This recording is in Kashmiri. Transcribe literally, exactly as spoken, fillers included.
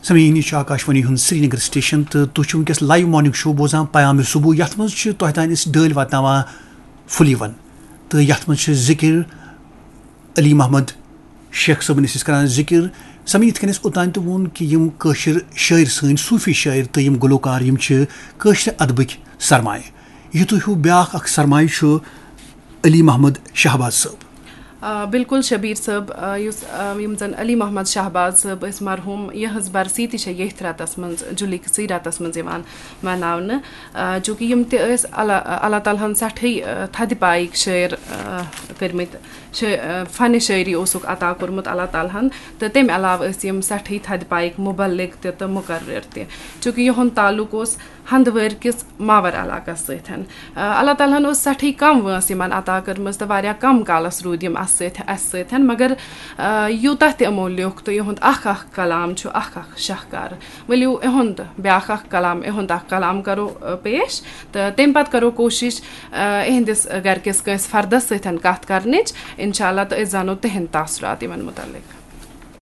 سمعین، یہِ چھُ آکاشوانی ہُنٛد سرینگر سٹیشن تہٕ تُہۍ چھِو وٕنکیٚس لایو مارننگ شو بوزان پیام صبح، یتھ منٛز چھِ تۄہہِ تام أسۍ ڈٲلۍ واتناوان پھُلیٖوَن تہٕ یتھ منٛز چھِ ذکر علی محمد شیخ صٲبن، أسۍ ٲسۍ کران ذکر۔ سمعین، یِتھ کٔنۍ اَسہِ اوٚتام تہِ ووٚن کہِ یِم کٲشِر شٲعر، سٲنۍ صوٗفی شٲعر تہٕ یِم گلوکار، یِم چھِ کٲشرِ ادبٕکۍ سرمایہِ۔ یِتُے ہیوٗ بیٛاکھ اکھ سرمایہِ چھُ علی محمد شہباز صٲب۔ آ، بِلکُل شبیٖر صٲب، آ، یُس، آ، یِم زَن علی محمد شہباز صٲب ٲسۍ مرحوٗم، یِہٕنٛز برسی تہِ چھےٚ ییٚتھۍ رٮ۪تَس منٛز، جُلہٕ کِسٕے رٮ۪تَس منٛز یِوان مناونہٕ۔ آ، چوٗنٛکہِ یِم تہِ ٲسۍ اللہ، اللہ تعالیٰ ہَن سٮ۪ٹھٕے، آ، تھدِ پایِکۍ شٲعر، آ، کٔرمٕتۍ، شٲ-، آ، فنِ شٲعری اوسُکھ عطا کوٚرمُت اللہ تعالیٰ ہَن، تہٕ تَمہِ علاوٕ ٲسۍ یِم سٮ۪ٹھٕے تھدِ پایِکۍ مُبلِغ تہِ تہٕ مُقرر تہِ، چوٗنٛکہِ یِہُنٛد تعلُق اوس ہندوٲرۍ کِس ماور علاقس سۭتۍ۔ آ، اللہ تعالیٰ ہن اوس سٮ۪ٹھٕے کم وٲنٛس یِمن عطا کٔرمٕژ تہٕ واریاہ کم کالس روٗدۍ یِم اَسہِ سۭتۍ، اَسہِ سۭتۍ، مگر، آ، یوٗتاہ تہِ یِمو لیوٚکھ تہٕ یِہُنٛد اکھ اکھ کلام چھُ اکھ اکھ شاہکار۔ ؤلِو، یِہُنٛد بیٛاکھ اکھ کلام، یِہُنٛد اکھ کلام کرو، آ، پیش، تہٕ تَمہِ پتہٕ کرو کوٗشِش، آ، یِہنٛدِس گرِکِس کٲنٛسہِ فردس سۭتۍ کتھ کرنٕچ، انشاء اللہ، تہٕ أسۍ زانو تِہنٛدۍ تاثرات یِمن مُتعلق۔